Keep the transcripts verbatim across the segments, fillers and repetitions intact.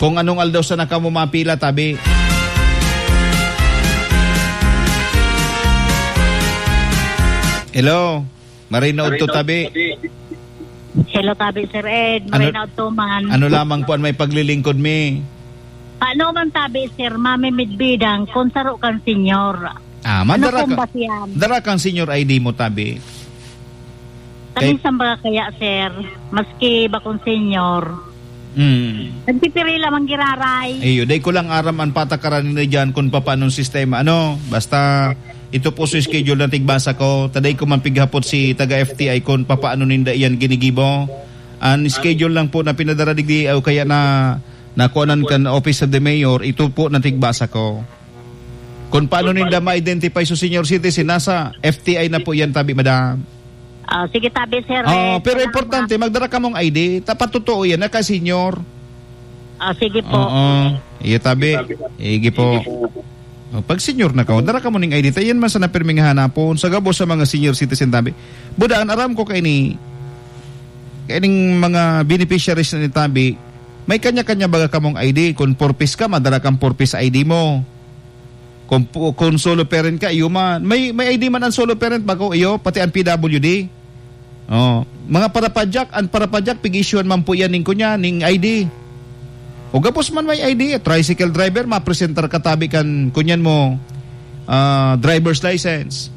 Kung anong aldaw sana kamo mapila, tabi. Hello? Maray na udto, tabi. Hello, tabi, Sir Ed. Maray na udto man. Ano lamang po an may paglilingkod mi? Paano man, tabi, Sir, mamimidbidan kung saro kan senyor? Ah, man, Ano dara pong ka, basihan? dara kang senyor I D mo, tabi. Kay Kami sa mga kaya, Sir, maski bakong senyor. Hmm. Nagpipirila man giraray. Iyo, dai ko lang aram an patakaran ninda diyan kung papaanong sistema. Ano, basta ito po sa schedule na tigbasa ko, ta dai ko man pighapot si taga F T I kung papaano ninda iyan ginigibo. An schedule lang po na pinadara digdi o kaya na nakuanan kan Office of the Mayor, ito po na tigbasa ko. Kung paano ninda ma-identify sa senior citizen, nasa F T I na po yan, tabi, madam. Ah, sige, tabi, sir. Oh, Eh, pero kailangan importante, magdara kamong I D. Dapat totoo yan, naka-senior. Ah, sige po. Oo. Iyo, tabi. Sige po. Oh, pag senior na ka, dara ka mo ning I D. Ta yan man sana pirming hanapon. Sa gabos sa mga senior citizen, tabi. Buda, an aram ko kaini, kaining mga beneficiaries na ni tabi, may kanya-kanya baga kamong I D. Kung four Ps ka, madara kang four Ps I D mo. Kung pu-, kung solo parent ka, iyo man. May, may I D man ang solo parent, bako, iyo, pati ang P W D. Oh, mga parapadyak, ang parapadyak, pig-issuean man po yan ning kunya, ning I D. O gabos man may I D, tricycle driver, mapresentar ka tabi kan kunyan mo, ah, driver's license.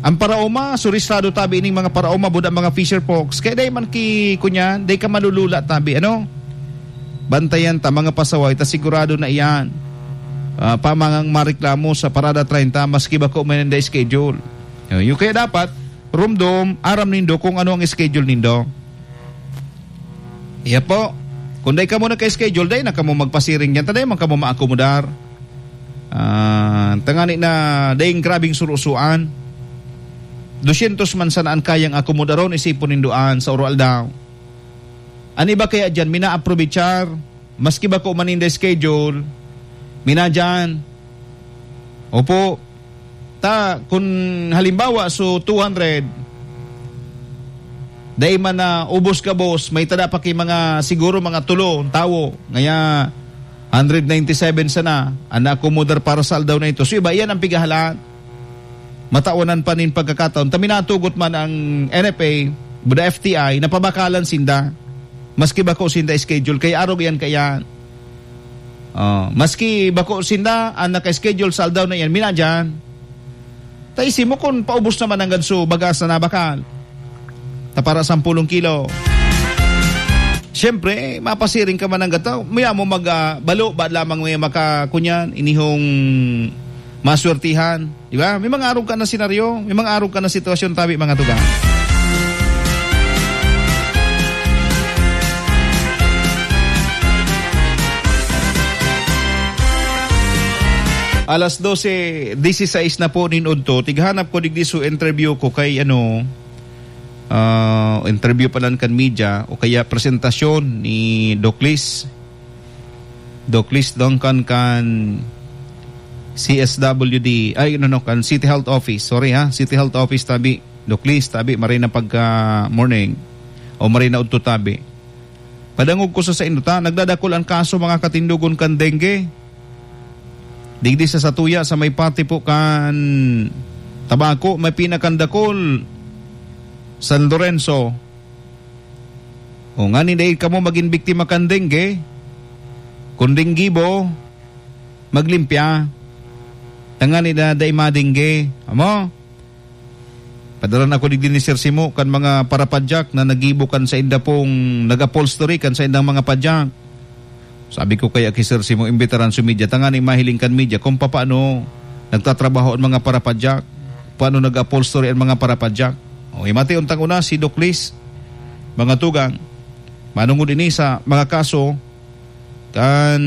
Ang paraoma, surisado tabi ining mga paraoma, buda mga fisher folks. Kaya dai man ki, kunyan, dai ka malulula tabi, ano? Bantayan ta, mga pasaway, ta sigurado na iyan. Ah, pamangang mareklamo sa Parada treinta, maski bako man nanda schedule. Oh, yung kaya dapat, rumdom, aram nindo kung ano ang schedule nindo. Iya po. Kung dai kamo nagka-schedule, dai na kamo magpasiring diyan. Ta dai man kamo maakomodar. Ah, tangani na daing grabing surusuan. Dosyentos man sana an kayang akomodaron, isipon nindo an sa oro aldaw. An iba kaya diyan, mina-aprovechar, maski bako man ninda schedule, mina diyan. Opo, Ta, kun halimbawa, so two hundred, dai man na ubos gabos, may tada pa ki mga, siguro mga tulo tawo, ngaya hundred ninety-seven sana an naakomodar para sa aldaw na ito. So, iba, iyan ang pigahalaan. Matawanan pa nin pagkakataon. Ta minatugot man ang N F A, buda F T I, napabakalan sinda. Maski bako sinda schedule, kaya arog iyan kaiyan. Oh, maski bako sinda an naka-schedule sa aldaw na iyan, minadyan. Ta isip mo kun paubos naman nanggad so bagas na nabakal. Ta para sampulong kilo. Siyempre, mapasiring ka man nanggad ta. Maya mo mag, ah, balo, ba lamang may makakunyan, inihong maswertihan. Di ba? May mga arog ka na senaryo, may mga arog ka na sitwasyon, tabi, mga tugang. Alas dose dieciséis na po nin udto, tighanap ko digdi so interview ko kay, ano, ah, interview pa lang kan media o kaya presentasyon ni Doc Liz. Doc Liz Duncan kan C S W D, ay, no, no, kan City Health Office. Sorry, ha, City Health Office, tabi. Doc Liz, tabi, maray na pagka morning o maray na udto, tabi. Padangog ko sa saindo ta, nagdadakul an kaso, mga katindogon, kan dengue. Digdi sa satuya, sa may pati po kan Tabaco, may pinakandakul, San Lorenzo. O ngani dai kamo magin biktima kan dengue, kun denggibo, maglimpya. Tangani na dai madengge. Amo? Padara na ako digdi ni Sir Simo kan mga parapadyak na nagibo kan sainda pong nag-upholstery kan saindang mga padyak. Sabi ko kaya ki Sir Simo, imbitaran si media, tangani mahiling kan media kung papaano nagtatrabaho ang mga parapadyak, paano nag-upholstery ang mga parapadyak. O, himati untang una si Doc Liz, mga tugang, manungod ini sa mga kaso kan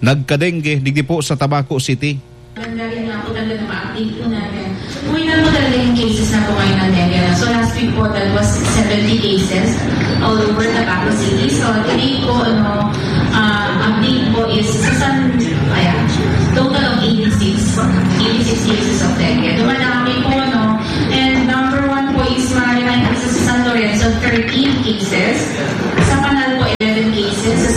nagkadengge digdi po sa Tabaco City. Tanggalin nga po talaga, ma-update po natin. Uwi na po talaga yung cases na po ngayon ng dengue, no? So, last week po, that was seventy cases all over Tabaco City. So, today po, ano, ah, update po is sa San, ayan, total of eighty-six, eighty-six cases of dengue. Dumadami po, no? And number one po is mga remind po sa San Lorenzo, thirteen cases. Sa Panal po, eleven cases. Sa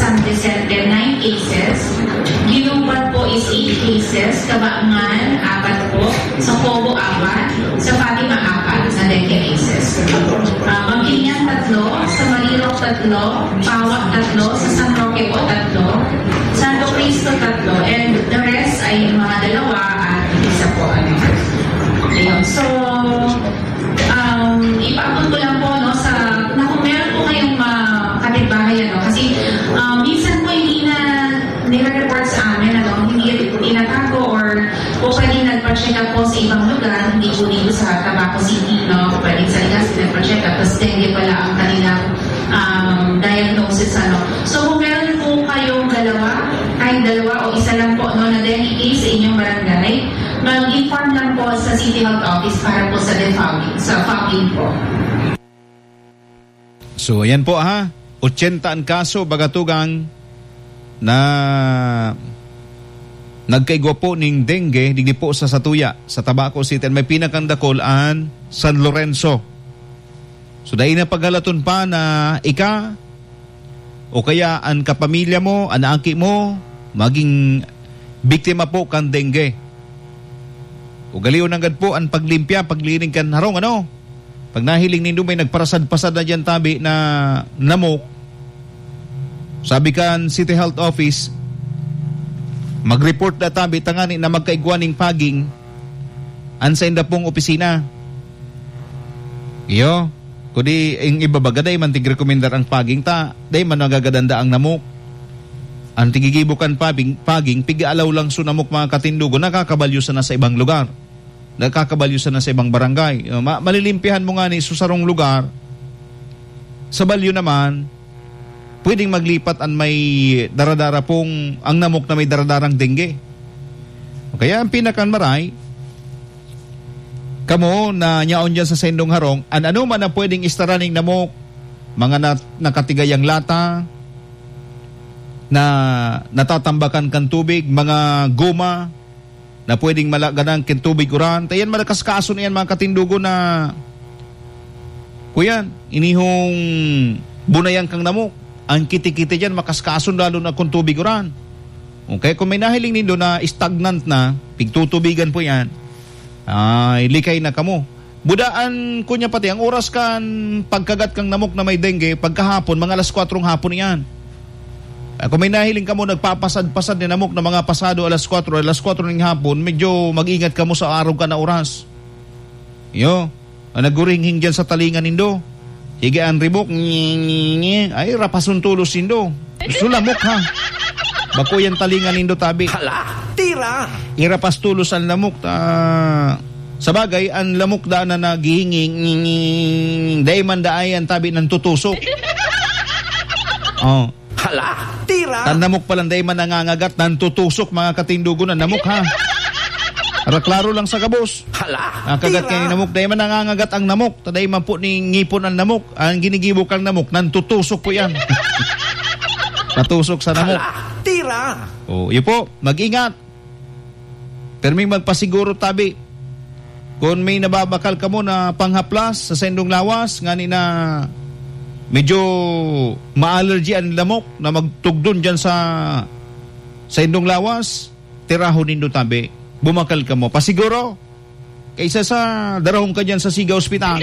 Tatlo, Pawa tatlo, sa San Roque po tatlo, Santo Cristo tatlo, and the rest ay mga dalawa at isa po, ano. Ayun. So, um, ipaabot ko lang po, no, sa, na kung meron po kayong mga kapitbahay, ano, kasi, um, minsan po hindi na nire-report sa amin, ano, hindi tinatago or po pwede nagpa-check up po sa ibang lugar, hindi po dito sa Tabaco City, no, pwede sa Legazpi nagpa-check up, tapos dengue pala ang kanilang um, diagnosis, ano. So, kung meron po kayong dalawa, kahit dalawa o isa lang po, no, na dengue case sa inyong barangay, mag-inform lang po sa City Health Office para po sa defogging, sa fogging po. So, ayan po, ha. Ochenta an kaso, baga tugang, na nagkaigwa po ning dengue, digdi po sa satuya, sa Tabaco City. May pinakang dakul an San Lorenzo. So, dai na paghalaton pa na ika o kaya an kapamilya mo, an aki mo, maging biktima po kan dengue. Ugalion nanggad po an paglimpya, paglinig kan harong, ano? Pag nahiling nindo may nagparasad-pasad na diyan tabi na namok, sabi kan City Health Office, mag-report na tabi tangani na magkaigwa ning fogging an sainda pong opisina. Iyo, kundi ang iba baga, dai man tigrekomendar ang fogging ta, dai man nagagadanda ang namok. Ang tigigibo kan fogging, fogging, pig-aalaw lang sa namok, mga katindogon, nakakabalyo sana sa ibang lugar. Nakakabalyo sana sa ibang barangay. Ma-, malilimpihan mo ngani sa sarong lugar, sa balyo naman, pwedeng maglipat an may daradara pong, ang namok na may daradarang dengue. Kaya ang pinakan maray, kamo na nyaon diyan sa saindong harong, an anoman na pwedeng istara ning namok, mga na-, nakatigayang lata, na natatambakan kan tubig, mga goma, na pwedeng malagadan kin tubig uran. Ta yan, malakaskason iyan, mga katindogon, na, kuyan, inihong bunayan kang namok. Ang kiti-kiti diyan, makaskason, lalo na kung tubig uran. Okay, kung may nahiling nindo na stagnant na, pigtutubigan po yan, ay, likay na kamo. Budaan ko niya pati, ang oras kan pagkagat kang namok na may dengue, pagkahapon, mga alas kwatro ng hapon iyan. Ah, kung may nahiling kamo, nagpapasad-pasad ni namok na mga pasado alas kwatro, alas kwatro ng hapon, medyo mag-ingat kamo sa arog ka na oras. Iyo, ang nagguringhing diyan sa talinga nindo. Sige, ang ribok, ngi, ngi, ngi. Ay, rapason tulos nindo. Sulamok, ha? Bako yan talinga nindo, tabi. Hala, tira! Irapas tulos ang lamok, ta-, sa bagay, ang lamok daan na naghihinging, ngi, ngi, ngi, ngi. Dai man daay ang tabi ng tutusok. Oh. Hala, tira! Tan namok palan, dai man nangangagat, nantutusok, mga katindogon, ang namok, ha? Para klaro lang sa gabos. Hala, ang kagat tira! Kay namok, dai man nangangagat ang namok, ta dai man po ni ngipon ang namok. Ang ginigibo kang namok, nantutusok po yan. Natusok sa namok. Hala, tira! Oh, yun po, mag-ingat. Perming magpasiguro tabi. Kun may nababakal kamo na panghaplas sa saindong lawas, ngani na medyo ma-allergy an lamok na magtugdon diyan sa saindong lawas, tirahon nindo tabi. Bumakal kamo. Pasiguro, kaysa sa darahon ka diyan sa Siga Hospital.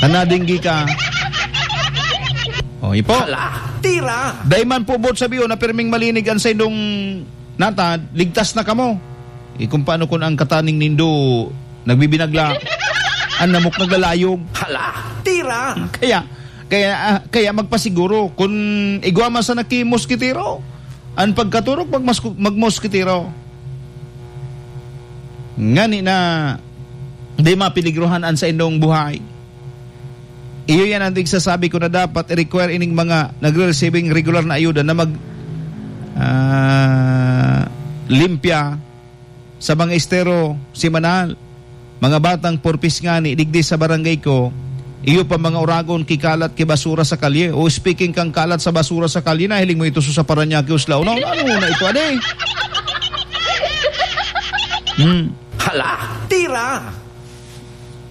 Tanadinggi ka. O, ipo. Hala, tira! Dai man po boot sabiyon na pirming malinig an saindong natad, ligtas na kamo. Eh, kung paano kun ang kataning nindo nagbibinagla, ang namok naglalayog. Hala, tira! Kaya, kaya, ah, kaya magpasiguro, kun igwa man sana ki moskitero, ang pagkaturog magmasku-, magmoskitero. Ngani na di mapiligrohan an saindong buhay. Iyo yan ang tigsasabi ko na dapat i-require ining mga nagre-receiving regular na ayuda na mag, ah, limpya sa mga estero semanal. Mga batang purpis ngani, digdi sa barangay ko, iyo pa mga uragon, kikalat, kibasura sa kalye. O, speaking kang kalat sa basura sa kalye, nahiling mo ito sa Parañaque, Uslao. No, ano na ito, ade? Hmm. Hala, tira!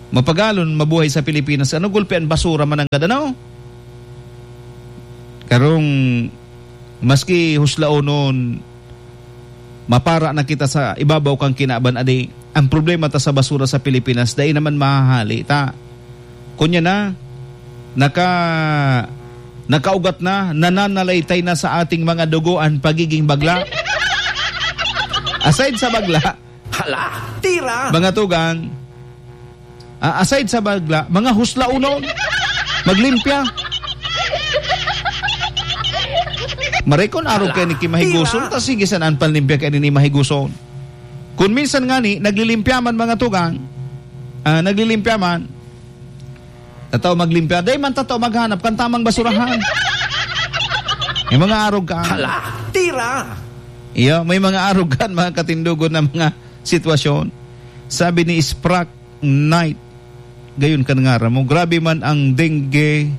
Mapagalon, mabuhay sa Pilipinas. Ano gulpi ang basura mananggad, ano? Karong maski huslaonon, mapara na kita sa ibabaw kan kinaban, adi, ang problema ta sa basura sa Pilipinas, dai naman mahahali ta. Kunya na, naka-, nakaugat na, nananalaytay na sa ating mga dugo an pagiging bagla. Aside sa bagla, Hala, tira! Mga tugang, ah, aside sa bagla, mga huslaonon, maglimpya. Maray kun arog Hala, kaini ki mahiguson, tira! Ta sige sana an panlimpya kaini ni mahiguson. Kun minsan ngani, naglilimpya man, mga tugang, ah, naglilimpya man, tatao maglimpya, dai man tatao maghanap kan tamang basurahan. May mga arog kan. Hala, tira! Iyo, may mga arog kan, mga katindogon, na mga sitwasyon. Sabi ni Sprak Knight, gayon kan ngaran mo, "Grabe man ang dengue,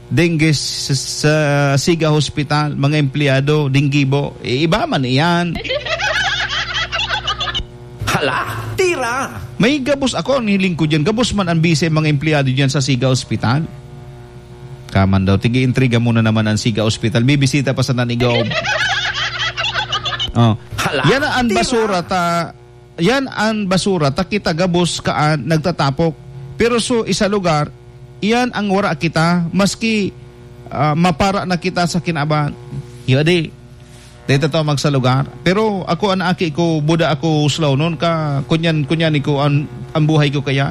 dengue sa, sa Siga Hospital, mga empleyado, denggibo." Eh, iba man iyan. Hala, tira! May gabos ako, ang hiling ko diyan, gabos man ang busy mga empleyado diyan sa Siga Hospital. Kaman daw, tig-iintriga mo na naman ang Siga Hospital. Bibisita pa sana ni Gob. Oh. Hala, Yan ang tira! Basura ta, yan ang basura ta kita gabos kaan nagtatapok. Pero so, isa lugar, iyan ang wara kita, maski, ah, mapara na kita sa kinaban. Yadi. Dito to magsalugar. Pero ako, an aki ko, buda ako huslaonon ka, kunyan, kunyan ko, an, ang buhay ko kaya.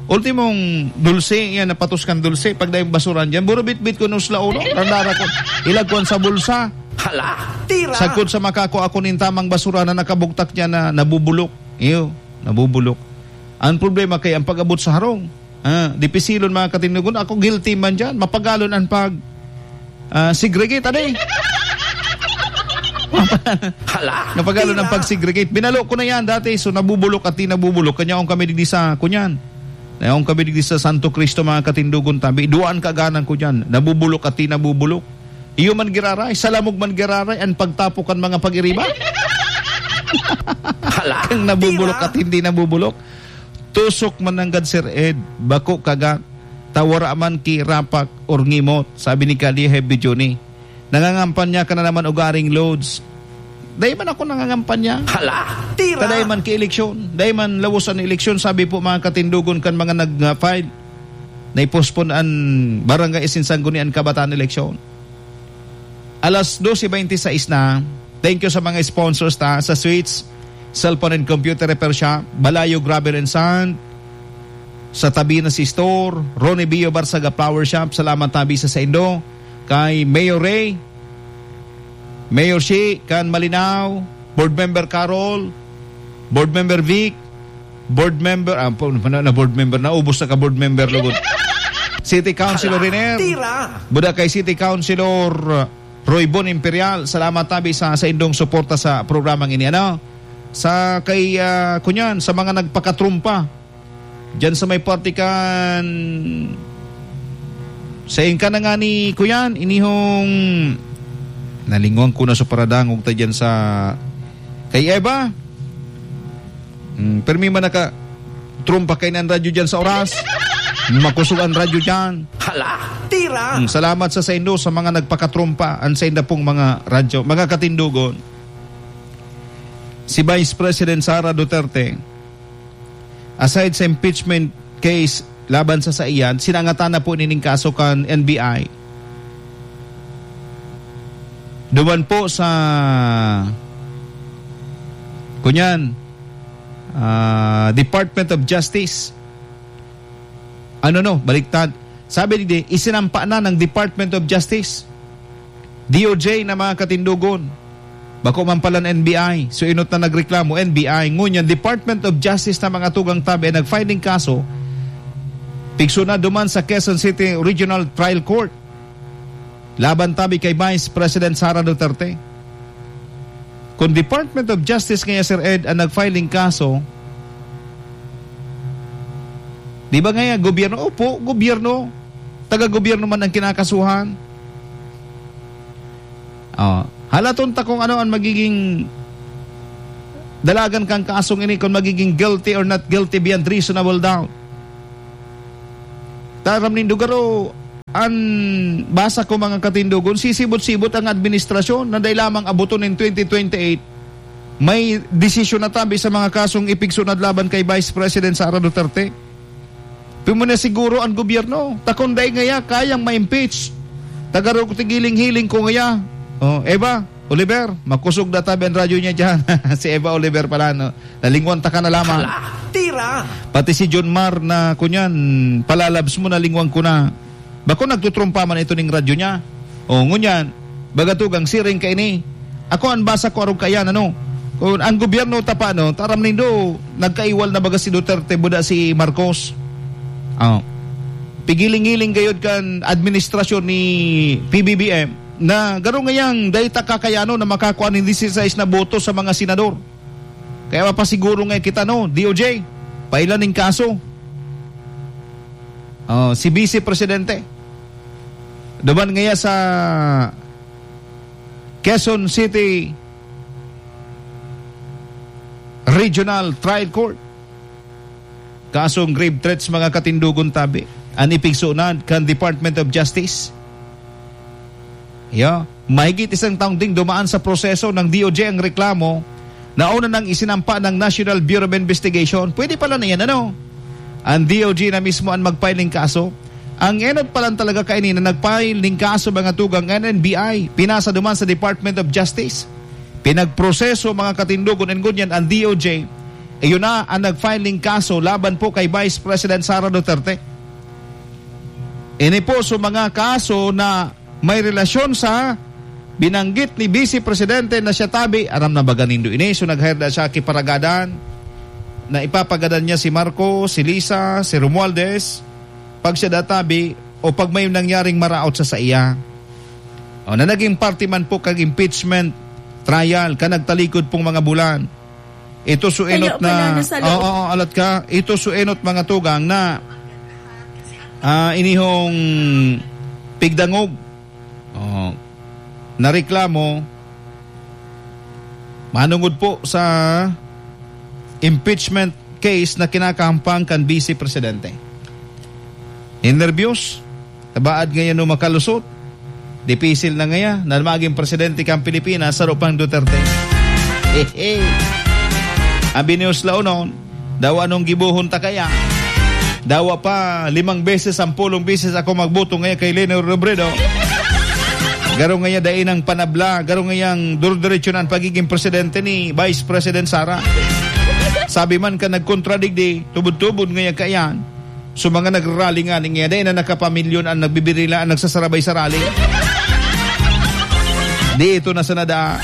Ultimong dulce, yan, napatos kan dulce. Pag dahil basuran dyan, buro bitbit ko nung huslaonon. Randara ko, ilagkuan sa bulsa. Hala, tira! Sagkod sa makako ako nin tamang basura na nakabugtak niya na nabubulok. Iyo, nabubulok. Ang problema kay ang pag-abot sa harong. Ah, dipisilon, mga katindogon. Ako, guilty man dyan. Mapagalon ang pag, ah, segregate, ano eh? Hala, Napagalon ang tira. Pag-segregate. Binalo ko na yan dati. So, nabubulok at di nabubulok. Kanya akong kami digdi sa, kunyan. Nayaon kami digdi sa Santo Cristo, mga katindogon, tabi. Duwaan kaganan ko dyan. Nabubulok at di nabubulok. Iyo man giraray, sa lamog man giraray, ang pagtapok kan mga pag-iriba. Hala, Kang nabubulok tira. At hindi nabubulok. Tusok man nanggad, Sir Ed, bako kaga, ta wara man ki rapak or ngimot, sabi ni Kali Heavy Johnny. Nangangampanya ka na naman, ugaring Lods. Dai man ako nangangampanya. Hala, tira! Ta dai man ki eleksyon, dai man lawos an eleksyon, sabi po mga katindogon kan mga nag-file. Na-postpone an Barangay Isinsanggunian Kabataan eleksyon. Alas dose bente seis na. Thank you sa mga sponsors ta, sa Switch, Cellphone and Computer Repair Shop, Balayo Gravel and Sand, sa Tabinas Store, Ronnie Bio Barsaga Flower Shop, salamat tabi sa saindo, kay Mayor Ray, Mayor Shi, kan Malinao, Board Member Carol, Board Member Vic, Board Member, ah, po, na, na board member, naubos na ka board member, lugod. City Councilor Hala, Riner, tira! Buda kay City Councilor, uh, Roy Bon Imperial, salamat tabi sa, sa indong suporta sa programang ini, ano? Sa kay, ah, kunyan, sa mga nagpakatrumpa, dyan sa may parte kan, sa inka na nga ni, kuyan, inihong, nalingwan ko na sa paradangog ta dyan sa, kay Eva, Hmm, permi man naka trumpa kainan radyo dyan sa oras. Makusog an radyo dyan. Hala, tira! Hmm, salamat sa saindo sa mga nagpakatrumpa, an sainda pong mga radyo, mga katindogon. Si Vice President Sara Duterte, aside sa impeachment case laban sa saiyan, sinangatan na po nining kaso kan N B I. Duman po sa, kunyan, ah, Department of Justice. Ano, no? Baliktad. Sabi digdi, isinampa na ng Department of Justice, D O J, na mga katindogon. Bako man pala ng N B I. So, inot na nagreklamo, N B I. Ngunyan, Department of Justice na mga tugang tabi ay nag-filing kaso, pigso na duman sa Quezon City Regional Trial Court. Laban tabi kay Vice President Sara Duterte. Kung Department of Justice ngaya, Sir Ed, ang nag-filing kaso, di ba ngaya gobyerno? Opo, gobyerno. Taga-gobyerno man ang kinakasuhan. Oh, halaton ta kung ano ang magiging dalagan kang kasong ini, kung magiging guilty or not guilty beyond reasonable doubt. Taram nindo garo, an basa ko, mga katindogon, sisibot-sibot ang administrasyon na dai lamang aboton nin twenty twenty-eight, may desisyon na tabi sa mga kasong ipigsunod laban kay Vice President Sara Duterte. Pimo na siguro ang gobyerno. Takon dai ngaya kayang ma-impeach. Tagarog ti giling-hiling ko ngaya. Oh, Eva, Oliver, makosog na tabi ang radyo niya dyan. Si Eva Oliver pala, no? Nalingwan ta ka na lamang. Hala, tira! Pati si John Mar na, kunyan, palalabs mo, nalingwan ko na. Bako nagtutrumpa man ito ning radyo niya. O, ngunyan, baga tugang siring kaini. Ako, ang basa ko arog kaiyan, ano? Kung ang gobyerno ta pa, ano, taram nindo, nagkaiwal na baga si Duterte, buda si Marcos. Ah. Pigiling-giling gayod kan administrasyon ni P B B M na garo ngayang dai ta kakayanon na makakuha nin dieciséis na boto sa mga senador. Kaya mapasiguro nga kita, no, D O J, pailan ning kaso. Oh, si Vice Presidente. Duman ngaya sa Quezon City Regional Trial Court. Kasong grave threats, mga katindogon tabi. An ipigsunad kan Department of Justice. Ya, mahigit isang taon ding dumaan sa proseso ng D O J ang reklamo na una nang isinampa ng National Bureau of Investigation. Pwede pala na yan, ano? Ang D O J na mismo ang mag-file ng kaso. Ang enot pa lang talaga kaini na nag-file ng kaso, mga tugang, N N B I. Pinasa duman sa Department of Justice. Pinagproseso, mga katindogon, and ngunyan ang D O J. Iyon na ang nag-file ng kaso laban po kay Vice President Sara Duterte. Ini po sa mga kaso na may relasyon sa binanggit ni Vice Presidente na siya tabi, aram na baga nindo ini, so nag-hire na siya ki paragadan, na ipapagadan niya si Marcos, si Lisa, si Romualdez, pag siya databi, o pag may nangyaring maraot sa saiya. O, na naging parte man po kag impeachment trial ka nagtalikod pong mga bulan. Ito so enot Kaya na, pala nasa loob. Oo, oo, alat ka. Ito so enot, mga tugang, na, ah, inihong pigdangog. Oh, nareklamo manungod po sa impeachment case na kinakahampang kan Vice Presidente. Ninerbiyos, tabaad ngayon no makalusot. Dipisil na ngaya na maging presidente kan Pilipinas, saro pang Duterte. Hehe. Ang binios laonon, daw anong gibohon ta kaya? Dawa pa, limang beses, sampolong beses ako magboto ngaya kay Leni Robredo. Garo ngaya dai nang panabla, garo ngayang duro-diretso na ang pagiging presidente ni Vice President Sara. Sabi man ka nagkontradigdi, tubod-tubod ngaya kaiyan. So, mga nagrarally nga, ning ngede na nakapamilyon ang nagbibirila, ang nagsasarabay sa rally. Di ito na sa nada.